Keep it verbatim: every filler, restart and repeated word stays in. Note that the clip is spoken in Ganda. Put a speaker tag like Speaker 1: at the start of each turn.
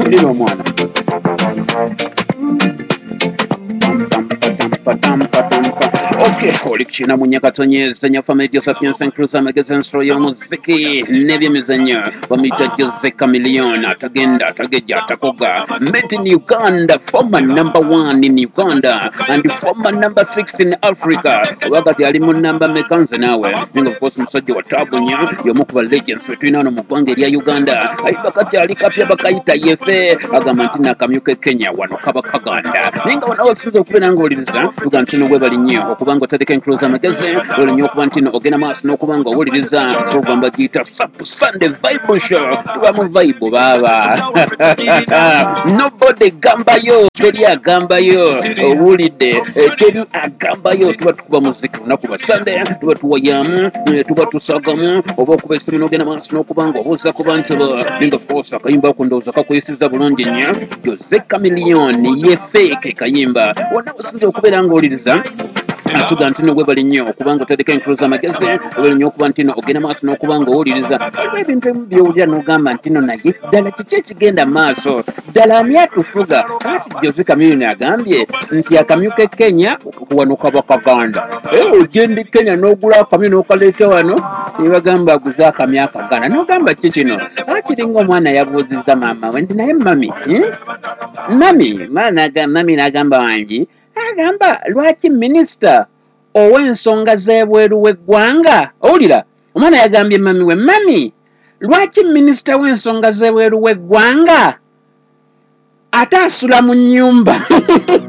Speaker 1: Lira omwana. Okay, oli kukina mu Nyakatonyeza nya family Joseph Nyansen Cruz amagezi ensolo y'omuziki n'ebyemizannyo. Bamuyita Jose Chameleone, atagenda atagejja atakoga. Made in Uganda, former number one in Uganda and former number six in Africa. Oba kati ali mu namba meka nze naawe? Ninga of course musajja wa taabu nnyo, y'omu ku ba legends be tulina wano mu ggwanga erya Uganda. Ayiba kati ali kapya bakayita yefe, agamba nti nakamyuka e Kenya wano kaba kaganda. Naye nga wano wasinza okubeera ng'owuliriza, tugamba nti no weebale nnyo okuba nga otandika enkulu z'amagezi, weebale nnyo okuba nti no ogenda maaso n'okuba nga owuliriza program bagiyita Sap Sunday Vibe Show. Tuba mu vibe baaba. Nobody gambayo, teri agambayo, owulidde, eh, teri agambayo. Tuba tukuba muziki lunaku lwa Sunday, tuba tuwayamu, eh, tuba tusagamu, oba okuba essimu n'ogenda maaso n'okuba nga obuuza ku bantu bo. Naye nga of course akayimba ako ndowooza kakuyisizza bulungi nnyo. Jose Chameleone ye fake kayimba. Wonna wasinze okubeera ng'owuliriza, atuga nti no webale nnyo okuba nga otandika enkulu z'amagezi, webale nnyo okuba nti no ogenda maaso n'okuba nga owuliriza. Waliwo ebintu ebimu by'owulira n'ogamba nti no naye ddala kiki ekigenda maaso, ddala ani atufuga? Kati Jose Chameleone agambye nti akamyu k'e Kenya wano kaba kaganda. Eh, ogenda e Kenya n'ogula akamyu n'okaleeta wano, ne bagamba aguze akamyu akaganda, n'ogamba ki kino? Kiringa omwana yabuuzizza maama we nti naye mami, hmm? Mami, mami n'agamba wangi, agamba lwaki minisita ow'ensonga z'ebweru w'eggwanga, owulira omwana yagambye mami we, mami lwaki minisita w'ensonga z'ebweru w'eggwanga ate asula mu nnyumba?